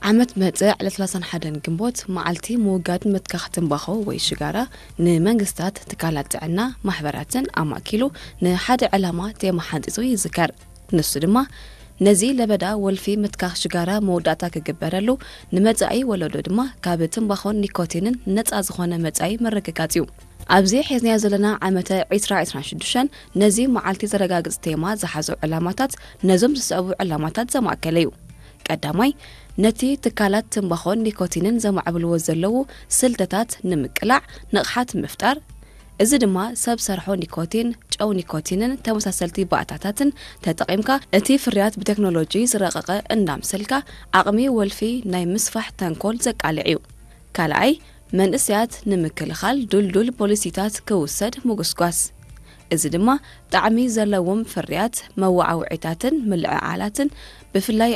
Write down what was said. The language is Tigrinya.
ዓመት መጽእ ዕለት ሰላሳን ሓደን ግንቦት መዓልቲ ምውጋድ ምትካኽ ትንባኾ ወይ ሽጋራ ንመንግስታት፣ ትካላት ጥዕና፣ ማሕበራትን ኣማእኪሉ ንሓደ ዕላማ ቴማ ሓንጺጹ ይዝከር። ንሱ ድማ ነዚ ለበዳ ወልፊ ምትካኽ ሽጋራ መወዳእታ ክግበረሉ፣ ንመጻኢ ወለዶ ድማ ካብ ትንባኾን ኒኮቲንን ነጻ ዝኾነ መጻኢ ምርግጋጽ እዩ። ኣብዚ ሒዝናዮ ዘለና ዓመተ ዕስራ ዕስራን ሽዱሽተን ነዚ መዓልቲ ዘረጋግጽ ቴማ ዝሓዙ ዕላማታት ነዞም ዝስዕቡ ዕላማታት ዘማእከለ እዩ። ቀዳማይ፣ ነቲ ትካላት ትንባኾን ኒኮቲንን ዘማዕብልዎ ዘለዉ ስልትታት ንምቅላዕ ንቕሓት ምፍጣር። እዚ ድማ ሰብ ሰርሖ ኒኮቲን፣ ጨው ኒኮቲንን ተመሳሰልቲ ባእታታትን ተጠቒምካ እቲ ፍርያት ብቴክኖሎጂ ዝረቐቐ እንዳምሰልካ ዓቕሚ ወልፊ ናይ ምስፋሕ ተንኮል ዘቃልዕ እዩ። ካልኣይ፣ መንእሰያት ንምክልኻል ድልዱል ፖሊሲታት ክውሰድ ምጉስጓስ። እዚ ድማ ጣዕሚ ዘለዎም ፍርያት፣ መወዓውዒታትን ምልዕዓላትን ብፍላይ